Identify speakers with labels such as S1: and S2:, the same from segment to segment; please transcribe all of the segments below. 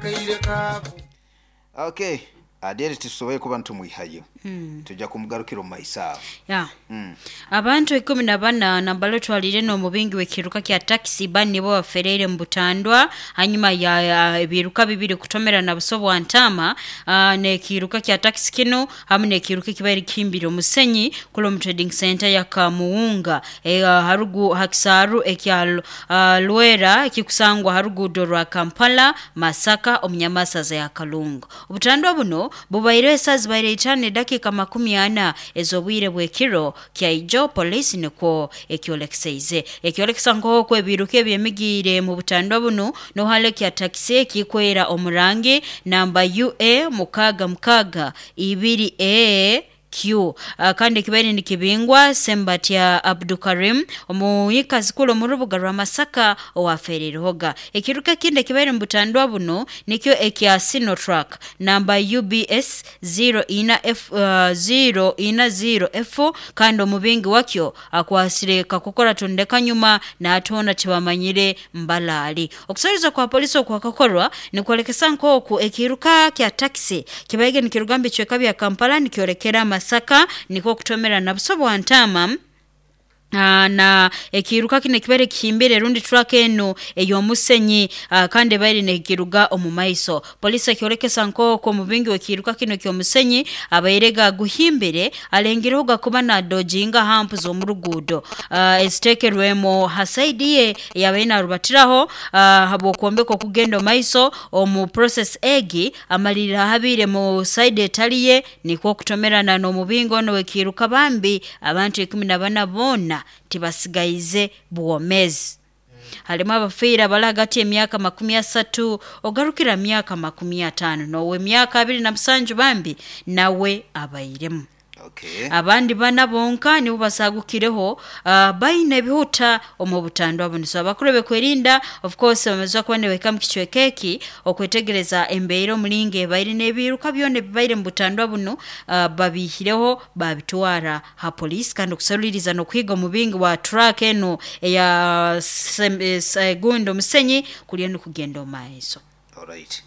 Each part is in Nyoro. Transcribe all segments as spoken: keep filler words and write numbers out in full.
S1: Akaire kako.
S2: Okay, Adele, tusoboye kuba ntumwihayo, tujja kumugarukira omu maiso aho.
S3: Ya, abantu ikumi na bana nambalo twalire n'omubingi w'ekiruka kya takisi bani nibo bafereire mu butandwa hanyuma ya, ya ebiruka bibiri kutomera na buso bwa ntama, ah, n'ekiruka kya takisi kino hamu n'ekiruka ekibaire kihimbire omusenyi kula omu trading center ya Kamuwunga, e, harugu hakisaaru ekya uh, Lwera ekikusangwa haruguudo rwa Kampala Masaka omunyamasaza ya Kalungu. Obutandwa buno bubaire esaa zibaire itaano edakiika makumi ana ez'obwire bw'ekiro kyaijo, polisi nikwo ekyolekeseize ekyolekesa nk'oku ebiruka ebyemigiire mu butandwa buno nohale kya takisi ekikwera omurangi namba U A mukaaga mukaaga ibiri E Q, uh, kandi ekibaire nikibingwa Sembatya Abdukarim, omuyikazi kulu omu rubuga rwa Masaka, owafererehoga. Ekiruka ekindi ekibaire mu butandwa buno nikyo ekya Sinotruck namba U B S zero ina F, uh, zero ina zero F, kandi omubingi wakyo akwasire kakukora tondeka nyuma n'atona tibamanyire mbalaali. Okusoreza kwa polisi okwakakorwa nikwolekesa nk'oku ekiruka kya takisi kibaige nikiruga mu bicweka bya Kampala nikyolekera Masaka, nikwo kutomera na buso bwa ntama Ah, na ekiruka kino ekibaire kihimbire rundi truck eno ey'omusenyi, ah, kandi ebaire nekiruga omu maiso. Polisi ekyolekesa nk'oku omubingi w'ekiruka kino eky'omusenyi abaire gaguhimbire alengereho gakuba nadojinga hampu z'omu ruguudo uh, eziteekerwemu ha side ye eyabaire narubatiraho, uh, habw'okwombeka okugenda omu maiso. Omu process egi amalirira ahabiire mu side etali ye, nikwo okutomerana n'omubingi ono w'ekiruka. Bambi abantu ikumi na bana boona tibasigaize bwomezi. Halimu abafiire abali hagati y'emyaka makumi asatu ogarukira myaka makumi ataano, n'ow'emyaka abiri na musanju bambi nawe abairemu.
S2: Okay.
S3: Abandi bana bonka nibo basagukireho, uh, baine ebihuta omu butandwa buno. So abakuru bekwerinda, of course, bamaze kuba nibahika mu kicweka eki okwetegereza embeera omulingo ebaire n'ebiruka byona ebibaire mu butandwa buno, uh, babiihireho babitwara ha poliisi, kandi okusaluriza n'okuhiga omubingi wa truck eno eya sem- eh, se- gundi omusenyi kuriyo nikugenda omu maiso.
S2: Alright.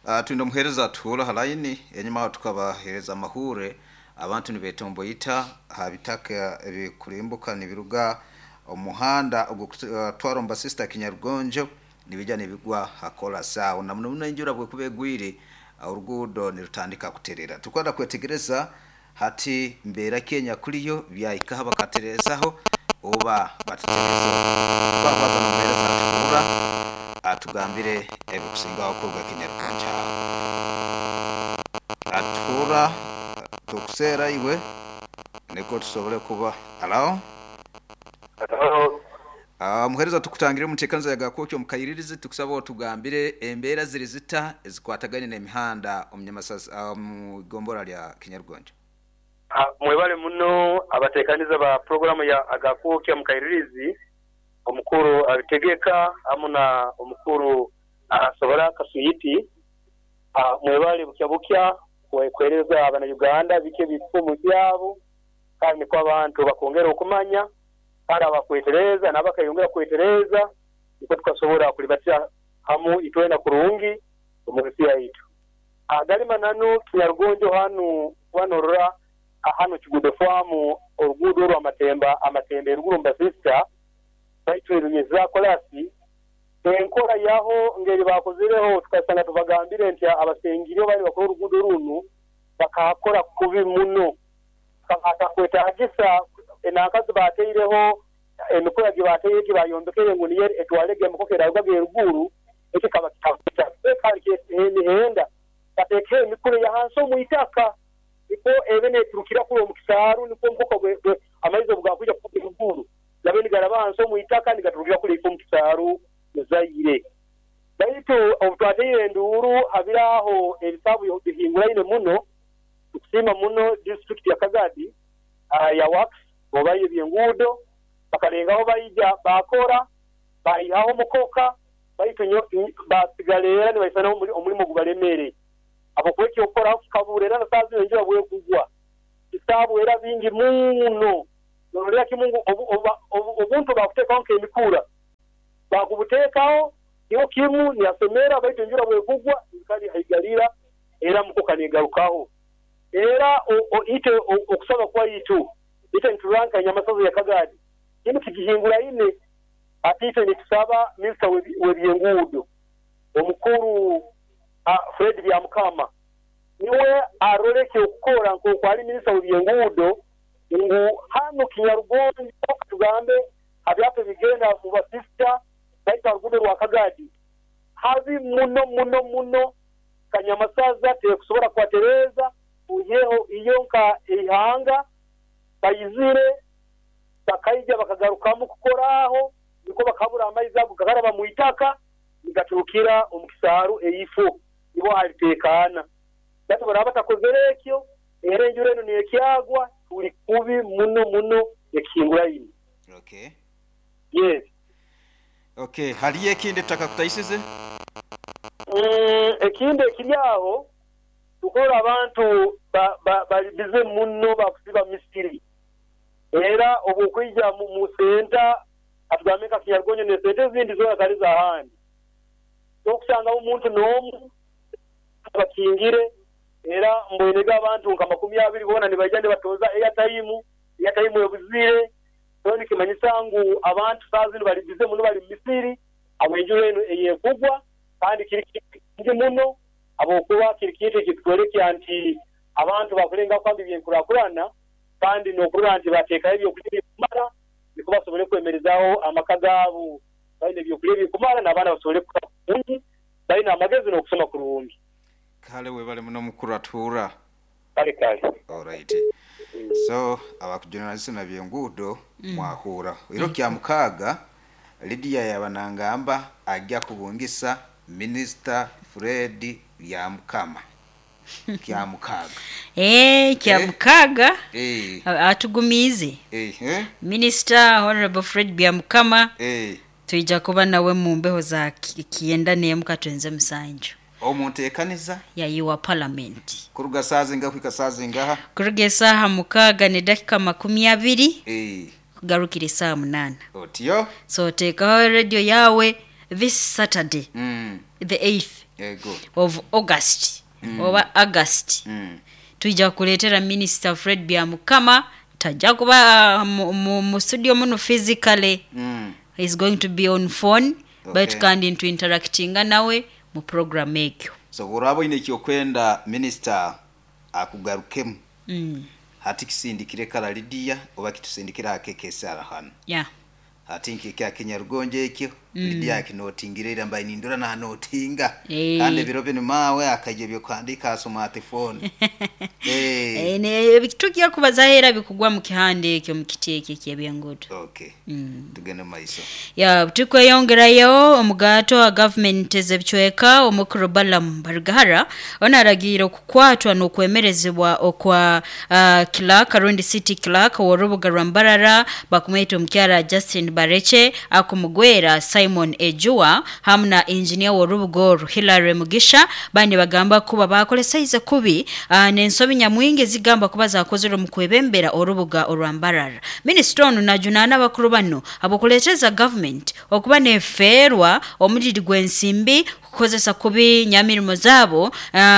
S2: Uh, twine omuheereza atuhura ha line. Enyuma aho tukabaheereza amahure, abantu nibetomboyita ha bitaka ebikurimbuka nibiruga omuhanda ogukutwara omu basista Kinyarugonjo, nibijja nibigwa hakola sawa na muno muno enjura bwekuba egwire, oruguudo nirutandika kuterera. Tukwenda kwetegereza hati mbeera ki enyakuliyo, byahikaho bakaterezaho oba bataterezaho. Twakwaza n'omuheereza atuhura atugambire ebikusingaho kuruga Kinyarugonjo aho. Atuhura, tukuseera iwe niko tusobole kuba alo.
S4: Hello.
S2: Uh, muhereza, tukutangire mutekaniza ya Gakokyo mukayiririzi. Tukusaba otugambire embeera ziri zita ezikwataganye n'emihanda omunyamasasa uh, mu gombora lya Kinyarugonjo.
S4: Ah, mwebale muno abatekaniza ba programu ya Agakuukya Mukairirizi, omukuru abitegeka hamu na omukuru asobora Kasuyiti. Ah, mwebale bukya bukya kwe- kwereza abana Uganda biki ebikumu byabo, kandi nikwo abantu bakongera okumanya, kandi abakwetereza n'abakayongera kwetereza, nikwo tukasobora kulibatira hamu itwena kurungi omu nsi yaitu. Agali mananu, Kinyarugonjo hanu wanorora hano Kigudo Famu, oruguudo orwa Amatemba, Amatemba eruguru mbasista baitu erunyeza kolasi enkora yaho ngeri bakozireho. Tukasanga tubagambire nti abasengire bali bakora oruguudo runu bakakora kubi muno, akakwetagisa enankazi bateireho emikura gye bateire gye bayombekere ngu niyo etwalege emikoka erarugaga eruguru. Ekikaba kandi emihenda batekeho emikura yahansi omu itaka, nikwo ebe neturukira kuri omu kisaaru, nikwo omukoka amaizi obu gakwija kuruga eruguru gabe nigaraba hansi omu itaka nigaturukira kuri ifo omu kisaaru muzaire. Baitu obu twateire enduuru habiraho ebisaabu bihinguraine muno. Tukusiima muno disitulikiti ya Kagadi uh, ya works oba ebyenguudo, bakalengaho baija bakora bayihaho omukoka, baitu basigala era nibaisana omulimu gubalemere habwokuba ekyokukoraho kikabura. Era na saaha zinu enjura bwekugwa bisaabu era bingi muno. Norolera kimu ngu obuntu bakuteekaho nk'emikura bakubuteekaho. Kiro kimu niyasemera baitu enjura bwekugwa kali haigalira era mukoka nigarukaho. Era ite okusaba kwa itu ite nituranka nyamasazo ya Kagadi kinu kigihingura ine ati ite nitusaba minisita w'ebyenguudo omukuru Fred Byamukama niwe aroleke okukora nk'oku ali minisita w'ebyenguudo ngu hano Kinyarugonjo tugambe abyapa bigenda mu basista baita rugudo rwa Kagadi habi muno muno muno kanyamasaza tekusobola kwatereza uyeho iyo nka ihanga bayizire bakaija bakagarukamu kukoraho niko bakabura amaizi ago gakaraba mu itaka nigaturukira omukisaru eifu nibo halitekana batu baraba batakozere ekyo era enjura eno nekyagwa tuli kubi muno muno ekinguraini.
S2: Okay.
S4: Yes.
S2: Okay, hali ekindi tutakakutaisize?
S4: Mm, ekindi ekiri aho tukora abantu ba ba balibize muno bakusiba misiri. Era obukwija mu, mu senta atugameka Kinyarugonjo ne sente zindi zona kali za handi. Tokusanga omuntu n'omu bakingire era mbwenega abantu nka makumi abiri bona nibaija nibatoza airtime airtime ebuzire so nikimanyisa ngu abantu sazi balibize muno bali misiri awenjura eno eyekugwa kandi kiri kingi muno abokuba kiri kintu ekitwereka nti abantu bakulenga kwambi byenkurakurana kandi n'okurora nti bateekayo ebyokulya bikumara niko basobole kwemerezaho amaka gaabo baine ebyokulya bikumara n'abaana basobole kukura kurungi baine amagezi n'okusoma kurungi.
S2: Kale webale muno mukuru atuura.
S4: Kale kale.
S2: Alright. So abakujournalist na byenguudo mm. mwahura iro kya mukaga Lydia yabanangamba ajja kubungisa Minister Fred Byamukama kya mukaga
S3: eh kya
S2: eh?
S3: mukaga
S2: eh
S3: atugumize
S2: eh, eh?
S3: Minister Honorable Fred Byamukama
S2: eh
S3: tuija kuba nawe mu mbeho za kienda nemuka twenze musanju
S2: omuntu ekaniza
S3: yayiwa parliament
S2: kuruga sazinga kwika sazinga
S3: kuruga esaha mukaga ne dakika makumi abiri
S2: eh
S3: kugarukira saa munana
S2: otiyo
S3: so tekaho radio yawe this Saturday
S2: mm.
S3: the eighth
S2: ego
S3: of August
S2: mm.
S3: oba August
S2: mm.
S3: tuija kuletera Minister Fred Byamukama tajja kuba uh, mu, mu, mu studio muno physically
S2: mm.
S3: He's going to be on phone
S2: okay.
S3: But kandi into interactinga nawe mu program ekyo
S2: so burabo ine kyokwenda minister akugarukemu
S3: mm.
S2: hati kisindikire kala Lydia oba kitusindikira akekesara hano
S3: yeah
S2: hati nkike Kinyarugonjo ekyo
S3: mm.
S2: Lydia akinotingire mbaye nindora na notinga
S3: hey.
S2: kandi biro bino mawe akaje byo kwandika smartphone
S3: eh eh ne bitukiya kubazahera bikugwa mu kihande ekyo mu kiti ekyo ebyengudo
S2: okay
S3: mm.
S2: tugende maiso
S3: ya tukweyongerayo omugato wa government zebicweka omukuru Balaam Barugahara onaragira okukwatwa n'okwemerezebwa okwa uh, clerk Rundi City Clerk w'orubuga rwa Mbarara bakumweta omukyara Justin Bareche akumugwera Simon Ejua hamwe na engineer w'orubuga Hilary Mugisha bandi bagamba kuba bakolesaize kubi uh, n'ensobi nyamwingi zigamba kuba zakozere mu kwebembera orubuga orwa Mbarara. Minister ono najunaana abakuru bano abokuleeteza government okuba nefeerwa omuliri gw'ensimbi kukozesa kubi nyamirimo zaabo uh,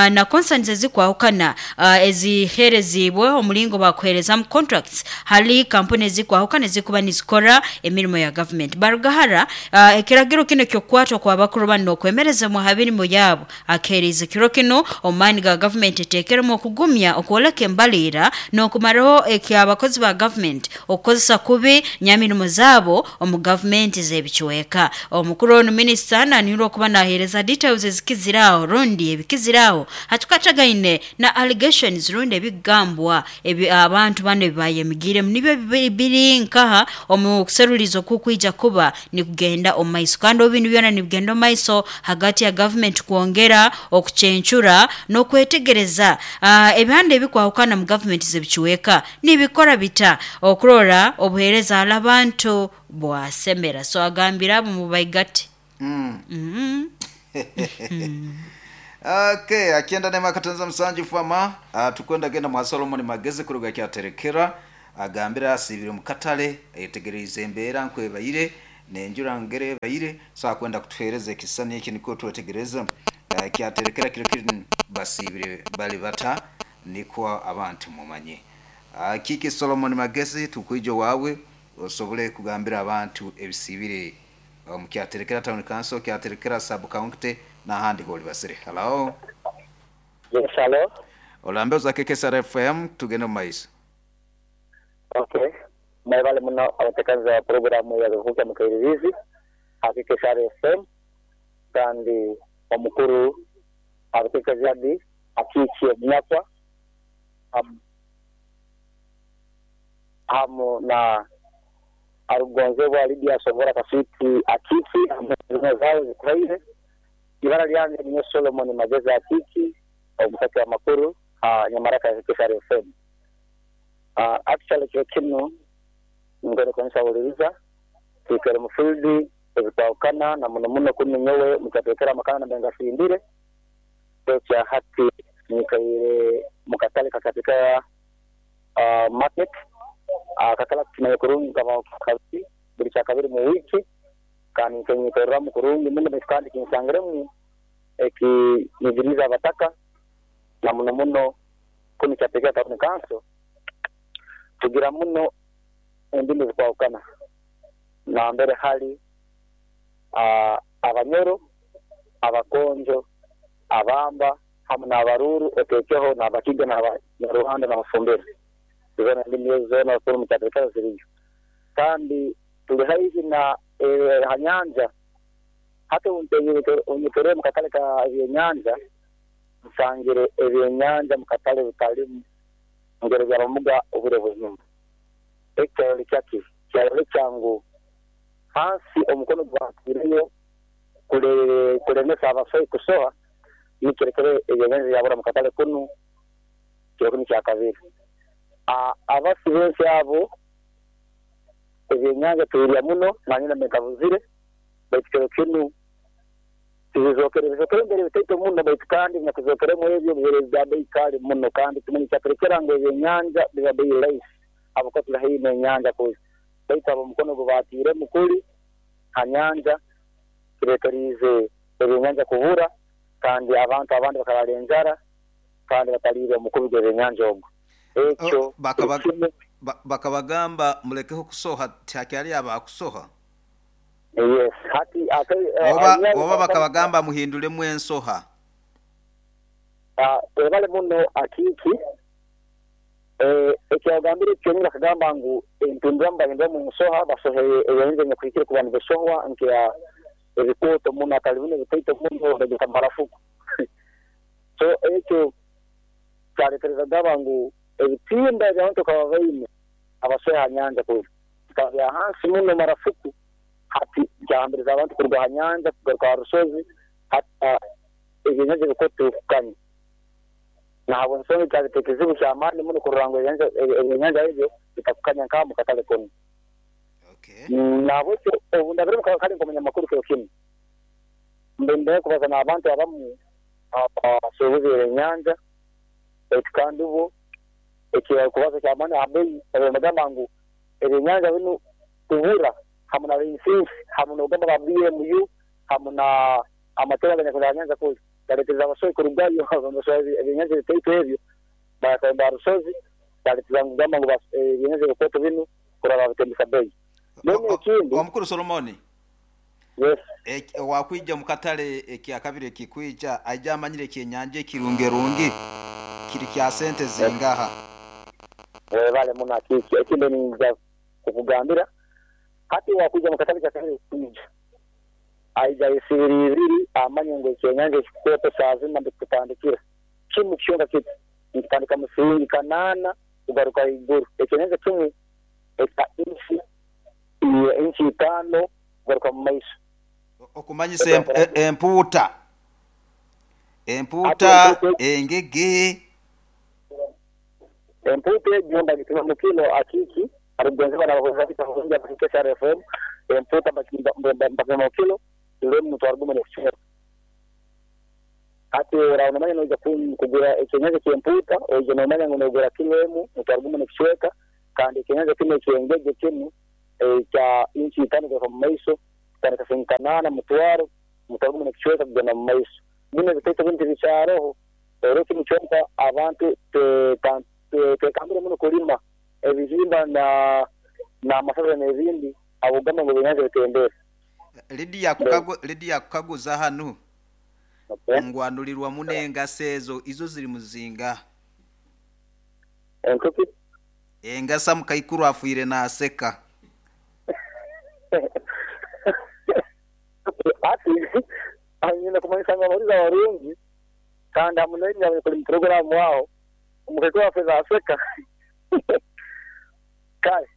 S3: na concerns ezikwahukana uh, eziherezibwe omulingo bakuherezamu contracts hali kampuni ezikwahukana ezikuba nizikora emirimo ya government. Barugahara uh, ekiragiro kino kyokwatwa kwa bakuru bano okwemereza mu habirimo yabo akereza kiro kino omani ga government etekeremo okugumya okwoleka embalira n'okumaraho ekyabakozi ba government okukozesa kubi nyamirimo zaabo omu government z'ebicweka. Omukuru ono minister nanirwa okuba nahereza details ezikiziraho rundi ebikiziraho hatukatagaine na allegations rundi ebigambwa ebi abantu bano bayemigire nibyo biri nkaha omu kuserulizo kukwija kuba ni kugenda omaiso kandi obintu byona nibigenda omaiso hagati ya government kuongera okuchenchura n'okwetegereza uh, ebihande ebikwahukana mu government z'ebicweka nibikora bita okurora obuhereza abantu bwasemera so agambira abo mu baigati
S2: mm.
S3: mm.
S2: Okay, akienda nema katanza msanju fama uh, tukwenda genda mwa Solomon Magezi kuruga kyaterekera agambira asibire mukatale etegereze embeera nkwebayire Nenjura ngere baire so kwenda kutuhereza ekisani eki niko twetegereza uh, kyaterekera kiro kiri basibire bali bata nikwo abantu mumanye. Uh, Kiki Solomon Magezi tukwije wawe osobole kugambira abantu ebisibire um, kyaterekera town council, kyaterekera sub county na handi holi basire. Hello.
S1: Yes, hello.
S2: Olambe za K K S R F M tugende maiso.
S1: Okay. Mwebale muno abatekaza programu ya Gakuka Mukairirizi K K S R F M kandi omukuru abatekazi akikiye munyakwa um, hamu na arugonzebwa Lydia Sobora Kaswiti akiki amazima zao zikubaire. Ibara lyange ni Solomon Magezi akiki omutaka wa makuru ha nyamaraka ya K K S R F M. Uh, actually kyo kino ngere kwanza uliriza kikere mufildi ezitawukana na muno muno kuni nyowe mukatekera makana na benga sindire kya hati nikaire mukatale kakatika uh, market uh, kakala tunaye kurungi kama kabiri buli kya kabiri mu wiki kandi nkenyikorera mu kurungi muno kandi kinsangiremu eki nijiriza abataka na muno muno kuni kyatekera town council tugira muno endimi zikwawukana na mbere hali uh, abanyoro abakonjo abamba hamu n'abaruru otekeho n'abakiga n'abanyarwanda n'abafumbira zona ndimi zona kuri mu kyatekera ziriyo kandi tuli haihi na eh, hanyanja hata unyitere mu katale ka ebyenyanja nsangire ebyenyanja mu katale bitalimu ngero bya bamuga obure buzima ekyo kyaki kyali kyangu hansi omukono gwatireyo kule kulemesa abasai kusoha nikirekere ebyenyanja yabura mu katale kunu kyo kunu kya kabiri a abasi benshi abo ebyenyanja tuyirya muno nanyina mekabuzire baitu kinu tizokere bizokere mbere bitaito muno baitu kandi nyakuzokeremo ebyo bibere bya bei kali muno kandi tumenye kyaterekera ngo ebyenyanja biba bei rahisi abo tuli haihi n'enyanja kuzi baitu abo mukono gubatire mukuli hanyanja kireterize ebyenyanja kubura kandi abantu abandi bakarara enjara kandi batalire omukubi gw'ebyenyanja ogwo ekyo
S2: bakabagamba mulekeho kusoha takyali abakusoha.
S1: Yes, hati ate
S2: oba oba bakabagamba muhindulemu ensoha.
S1: Ah, ebale muno akiki eh ekyagambire kyonyina kagamba ngu entundamba bahindura mu nsoha basohe ebyenze nyakwikire kubantu besohwa nke ebikoto muno akalibune bitaito muno bagita marafuku. So ekyo kyaretereza gaba ngu ebitimba ebyantu kababaine abasoha nyanja kuzi kabya hansi muno marafuku hati kyahambiriza abantu kuruga ha nyanja kugaruka ha rusozi hata ebyenyanja bikoto kukanya nahabwe nsonga kyaleta ekizibu kyamaani muno kurora ngu ebyenyanja ebyo bitakukanya nka mu katale kunu.
S2: Okay.
S1: Nabwekyo obu ndabire kale nk'omunyamakuru kiro kinu mbendeye kubaza n'abantu abamu abasuubuzi ebyenyanja baitu kandi bo ekikubaza kyamaani abeyi ebagamba ngu ebyenyanja binu kubura hamu na insinsi hamu n'ogamba ba B M U hamu na amatera ganyakuza nyanja kuzi galeeteza abasohi kurugayo abasohi ebyenyanja bitaito ebyo bakagamba rusozi galeeteza ngamba ngu ebyenyanja bikoto binu kuraba bitembesa bei. None ekindi
S2: omukuru Solomoni.
S1: Yes.
S2: E, wakwija mukatale ekyakabire kikwija aija amanyire ekyenyanja ekirungerungi kiri kya sente zingaha.
S1: Eh bale muno akiki ekindi ninza kukugambira hati wakuja mukatale kyakabire kwija aija isibiri ibiri amanye ngo ekyenyanja ekikoto saa zina ndikutandikira kimu kyonka kiti nkitandika musiringi kanana kugaruka iguru ekyenyanja kimu eka inchi inchi itano kugaruka mu maiso
S2: okumanyisa empuuta empuuta engege
S1: empuuta egyo ndagituma mu kilo akiki arugonzeba n'abakozi bita K S R F M empuuta bakima mu kilo lemu mutwaro gumu n'ekicweka hati ora unamanya noija kugura ekyenyanja ky'empuuta oija nomanya ngu nogura kilo emu mutwaro gumu n'ekicweka kandi ekyenyanja kinu ekyengege kinu ekya inchi itano kugaruka mu maiso kutandika siringi kanaana mutwaro mutwaro gumu n'ekicweka kugenda mu maiso bino ebitaito binu tibikyaroho era kinu kyonka abantu twekambire muno kulima ebihimba na n'amasaza n'ebindi abugamba ngu ebyenyanja bitembere.
S2: Lydia kukagu Lydia kukaguza hanu
S1: Okay.
S2: ngwanulirwa munengasa ezo izo ziri muzinga
S1: Enkuki
S2: engasa mukaikuru afuire naseka
S1: ati anyina kumanyisa ngu abahuriza barungi kandi hamunenya kuli mu programu aho omukaikuru afuire naseka kale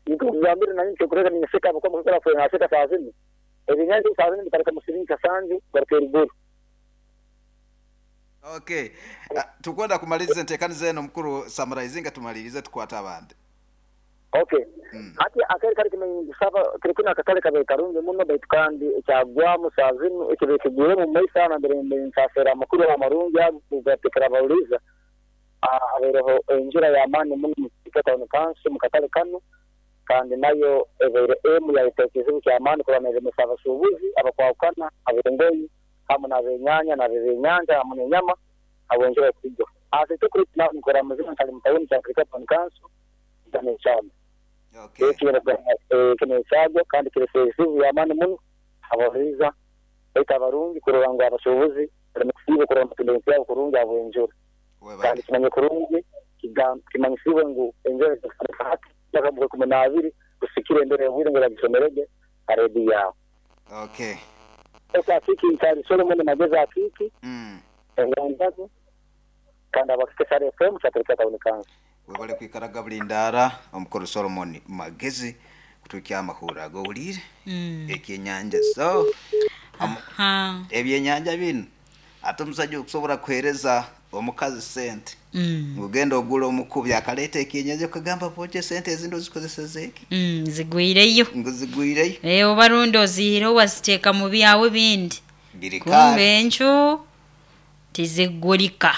S1: nikugambira nanye nkikureka ninseka abakuba omukaikuru afuire naseka saa zinu ebyenyanja saa zinu bitareka mu siringi kasanju garuka eriguru.
S2: Okay, uh, tukwenda kumaliza entekaniza eno mukuru summarizinga tumalirize tukwata abandi.
S1: Okay.
S2: Mm.
S1: Ati akari kari kimenyisaba kirikuna akatale kabe karungi muno baitu kandi ekyagwamu saa zinu ekibe kigwire mu maiso aho nambere nsasera amakuru amarungi ago gatekera abawuliza abaireho enjura y'amaani muno mu Kitwe Town Council mu katale kanu kandi nayo ebaire emu yayeta ekizibu ky'amaani kuba neremesa abasuubuzi abakwahukana ab'engoyi hamu n'abenyanya n'abenyanja hamu n'enyama habw'enjura ekugwa. Ate kuri nkora muzima nkali mu tawuni kya Kitwe Town Council n'ekyama
S2: Okay.
S1: kino ekyagwa kandi kirese ebizibu by'amaani muno abahuriza baitu abarungi kurora ngu abasuubuzi baleme kusiiba kurora amatunda ebintu byabo kurungi habw'enjura
S2: Webale.
S1: kandi kimanye kurungi kimanyisibwe ngu enjura etandika hati mpaka mu kumi n'abiri kusikira embera y'obwire ngu eragisomerege ha rediyo yawe.
S2: Okay.
S1: Ese Akiki nkyali Solomon Magezi Akiki
S2: Mm.
S1: engandago kandi abakikesara F M kyaturika Town Council.
S2: Webale kwikaraga bulindara omukuru Solomon Magezi kutukia amahura agowulire
S3: Mm.
S2: ekyenyanja so
S3: Aha.
S2: ebyenyanja bino ate omusajja okusobola kuhereza omukazi sente
S3: Mm.
S2: ngugenda ogula omukubi akaleeta ekyenyanja okagamba boje sente ezindi ozikozeseza eki
S3: Mm, zigwireyo
S2: ngu zigwireyo
S3: Eh, oba rundi ozihireho waziteeka mu byawe bindi
S2: biri
S3: kumbe
S2: kale
S3: encu tizigulika.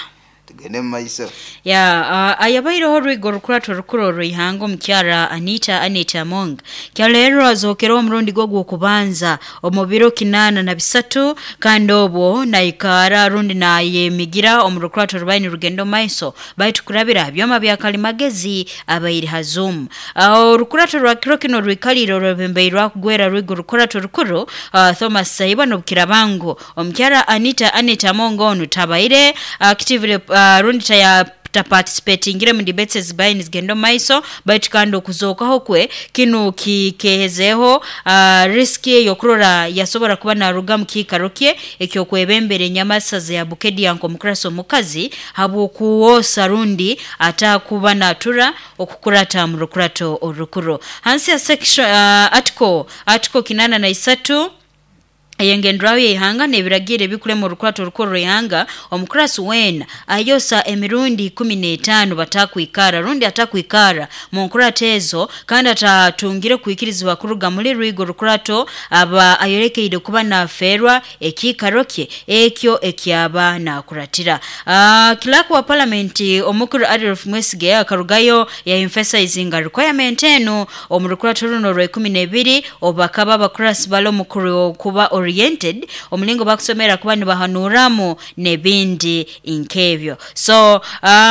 S2: tugende mu maiso.
S3: Ya uh, ayabaireho orwigo orukurato orukuru orw'ihanga omukyara Anita Anita Among kyaleero azookera omurundi gwo gw'okubanza omu biro kinaana na bisatu kandi obwo naikara rundi nayemigira omu rukurato rubaire nirugenda omu maiso baitu kurabira byoma bya kalimagezi abaire ha Zoom. Uh, orukurato rwa kiro kino rwikalire orwebembeire rwakugwera rwigo rukurato rukuru uh, Thomas Saiba n'obukirabangu omukyara Anita Anita Among onu tabaire actively uh, rundi taya taparticipatingire mu debates ezibaire nizigenda omu maiso baitu kandi okuzookaho kwe kinu kikehezeho uh, riski ey'okurora yasobora kuba naruga mu kiikaro kye ekyokwebembera enyamasaza ya Bukedia nk'omukurasi omukazi habw'okuwoosa rundi atakuba natura okukurata mu rukurato orukuru hansi ya section uh, article article kinana na isatu eyengendraho yeihanga n'ebiragiro ebikurema orukurato orukuru rw'ihanga omukurasi weena ayosa emirundi ikumi n'etaano batakwikara rundi atakwikara mu nkurato ezo kandi atatungire kwikirizibwa kuruga muri rwigo rukurato aba ayolekeire kuba nafeerwa ekiikaro kye ekyo ekyaba nakuratira. Uh, clerk wa parliament omukuru Adolf Mwesige akarugayo ya emphasizinga requirement eno omu rukurato runo rwa ikumi n'ebiri obakaba abakurasi bali omukuru okuba oriented omulingo bakusomera kuba nibahanuramu n'ebindi nk'ebyo. So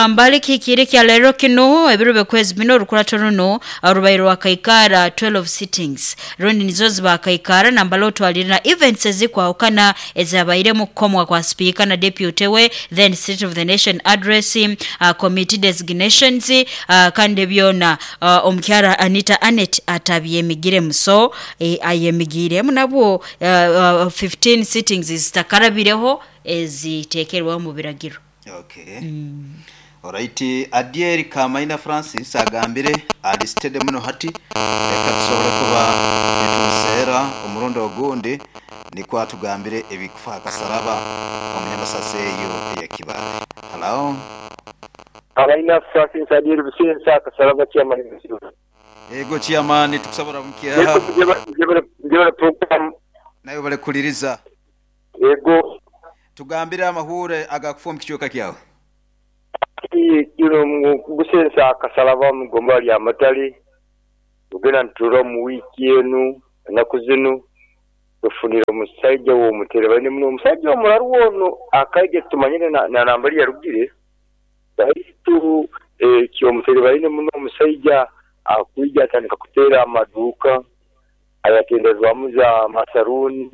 S3: mbali kikire kya leero kinu ebiro byokwezi bino orukurato runo rubaire rwakaikara twelve sittings rundi nizo zibakaikara nambala otwalire na events ezikwahukana ezabairemu kukomwa kwa speaker na deputy we then state of the nation address uh, committee designations uh, kandi byona uh, omukyara Anita Anet atabyemigiremu so eh, ayemigiremu nabwo uh, uh, fifteen sittings zitakarabireho eziteekerwaho mu biragiro.
S2: Okay. Mm. Alright, Adieri Kamaina Francis agambire alisitede muno hati reka tusobole kuba nitumuseera omurundi ogundi nikwo atugambire ebikufa akasaraba omunyamasasi eyo ey'ekibaale. Hello.
S4: Kamaina Francis Adieri Busensa akasaraba chairman.
S2: Ego chairman tukusabura mukyaha.
S4: Njebale program
S2: nayo bale kuliriza.
S4: Ego
S2: tugambire amahure agakufa mu kichweka kyawe.
S4: Kino mu Busensa akasalaba mu gomba lya Matale.
S1: Tugenda nituturora mu wiiki enu ennaku zinu tufunire omusaija w'omuterebaine muno omusaija omuraru ono akaija tumanyire na na nambari yarugire baitu ekyomuterebaine muno omusaija akwija atandika kuteera amaduuka ayatenderwamu za masaruuni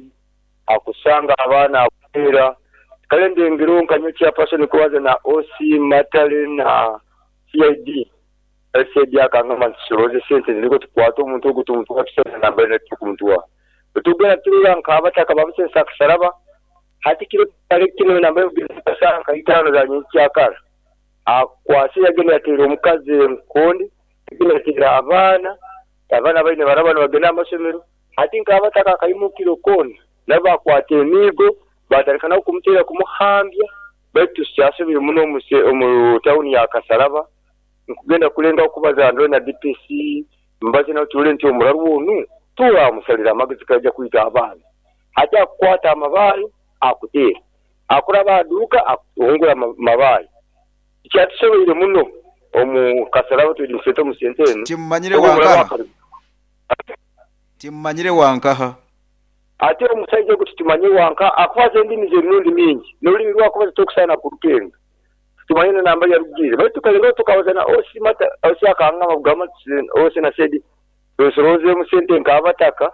S1: akusanga abaana akuteera kale ndengero nka nyowe chairperson kubaza na O C Matale na C I D C I D akangamba nti sente niko tukwata omuntu ogu tumutwara tusana nambari netukumutwara tugenda turora nk'abataka babusensa akasaraba hati kiro kale kino nambari kugenda nka itaano za nyenkyakara akwase yagenda yateera omukazi enkondi yagenda yateera abaana abaana baine baraba nibagenda amasomero hati nk'abataka akaimukiro koona nabo bakwata emiigo batandika nabo kumuteera kumuhambya baitu tukyasobire muno omu tawuni ya Kasaraba nkugenda kulenga okubaza ndore na D P C mbaze nawe turore nti omuraru onu turamusalira amagezi kajja kwita abaana hati akukwata amabaale akuteera akuraba aduuka akuhungura amabaale kyatusoboire muno omu Kasaraba tuli musente omu sente eno
S2: timumanyire wankaha timumanyire wankaha
S1: ate omusajja ogwo tutumanye wanka akubaza endimi z'emirundi mingi n'olulimi lwakubaza tokusaana kurukenga tumanye na namba yarugire baitu tukalengaho tukabaza na O C Mata O C akangamba kugamba O C na sedi tusoroozemu sente nk'abataka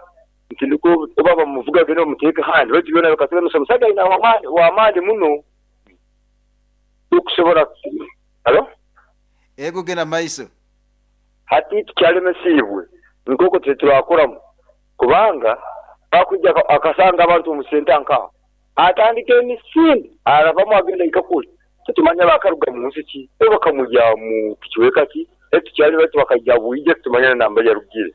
S1: nti niko oba bamuvuga genda bamuteeke handi baitu byona bikatulemesa omusajja ayina wamaani wamaani muno tukusobola alo
S2: ego genda maiso
S1: hati tukyalemesiibwe nk'okwo teturakoramu kubanga bakujja akasanga abantu omu sente nkaho atandika emisinde aravamu agenda ikakuli tutumanya bakaruga mu nsi ki oba bakamujja mu kikiweka ki tukyali baitu bakajja bwije tutumanya na namba yarugire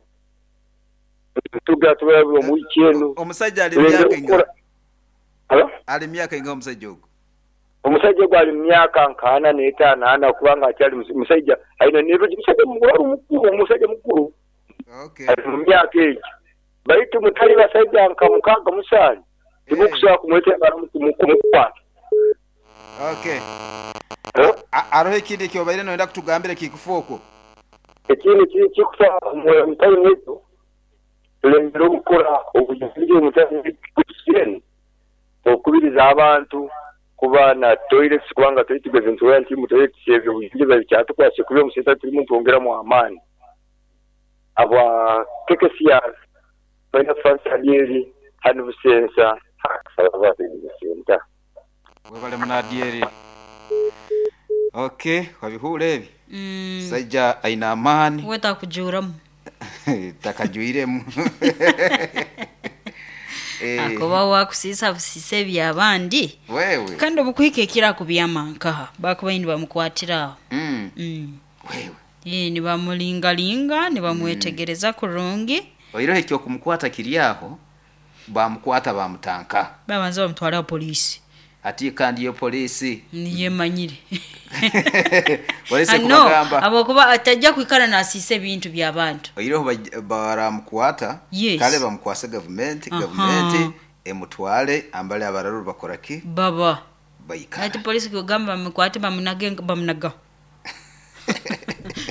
S1: tuga tuba mu wiki eno
S2: omusajja ali myaka inga
S1: alo
S2: ali myaka inga omusajja ogwo
S1: omusajja ogwo ali myaka nkaana n'etaano ana kubanga akyali musajja alina n'ebyo musajja mukulu mukulu omusajja mukulu
S2: okay
S1: ali mu myaka egyo baitu mutali basajja nka mukaaga musanju timukusobola kumwetengana kumukwata
S2: okay aroho ekindi ekyobaire noyenda kutugambira kikufa okwo
S1: ekindi kikufa omutaini waitu tulengere okukora obuyonjo omutaini waitu okubiriza abantu kuba na toilets kubanga toilet ntuwera nti mu toilets ebyo obuyonjo bakyatukwase kuba omusenta turimu ntwongeramu amaani aba K K C R balina Francis Adieri hano Busensa Kasaraba Busenta
S2: webale munadieri okay wabihura ebi
S3: mm.
S2: Sajja aina amaani
S3: we takujuramu
S2: takajuiremu
S3: eh akoba wakusisa busise byabandi
S2: wewe
S3: kandi obukwike kira kubyama nkaha bakuba indi bamukwatira
S2: mm.
S3: mm.
S2: wewe
S3: eh ni bamulingalinga ni bamwetegereza mm. kurungi
S2: oirohe kyo kumukwata kiryaho bamukwata bamutanka
S3: babanza bamutwara polisi
S2: ati kandi yo polisi
S3: niye manyire
S2: polisi kubagamba
S3: abo kuba atajja kwikara na asise ebintu by'abantu
S2: oiroho baramukwata
S3: yes.
S2: Kale bamukwase government uh -huh. Government emutwale ambale abararu bakora ki
S3: baba
S2: bayikara
S3: ati polisi kugamba bamukwate bamunage bamunaga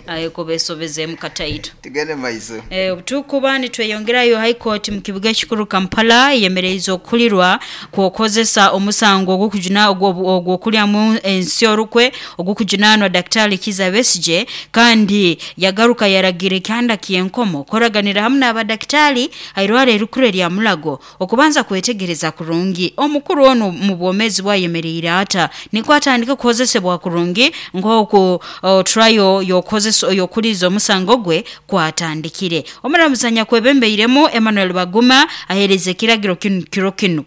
S3: ayo besobeze mukataito
S2: tugende maiso
S3: eh tukuba nitweyongerayo High Court mu kibuga kikuru Kampala yemereza okulirwa kuokozesa omusango ogukujuna ogwokulyamu ensi orukwe ogukujunanwa Daktari Kizza Besigye kandi yagaruka yaragire kanda kienkomo koraganira hamwe n'abadaktari airware erukure lya Mulago okubanza kwetegereza kurungi omukuru ono mu bwomezi bwayemerera ata niko atandika kukozesebwa kurungi ngoko trial yokozesa yokuliza omusango gwe kwatandikire omuramuzanya kwebembeiremu Emmanuel Baguma ahereze kiragiro kinu kiro kinu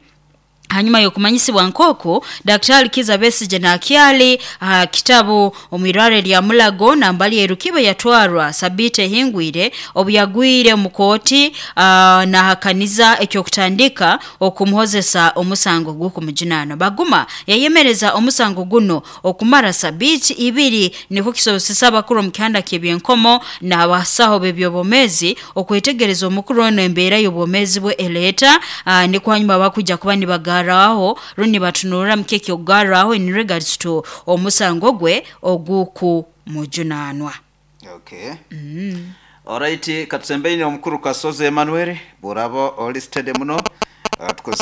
S3: hanyuma yokumanyisibwa nkoko Daktari Kizza Besigye na Akiali uh, kitabu omwirare lya Mulago na mbali erukibe yatwarwa Sabite Hingwire obuyagwire mukoti uh, na hakaniza ekyo kutandika okumuhozesa omusango gw'okumujunana. Baguma yayemereza omusango guno okumara sabiti ibiri niko kisobosesa abakuru mu kihanda ky'ebyenkomo n'abasaho b'ebyobomezi okwetegereza omukuru ono embeera y'obwomezi bwe eleta uh, niko hanyuma bakujja kuba nibaga garaho runi batunura mkeke ogaraho in regards to omusango gwe oguku mujunanwa.
S2: Okay.
S3: Mm.
S2: Alright, katusembeine omukuru Kasozi Emmanuel burabo oli steady muno. Uh, tukozesa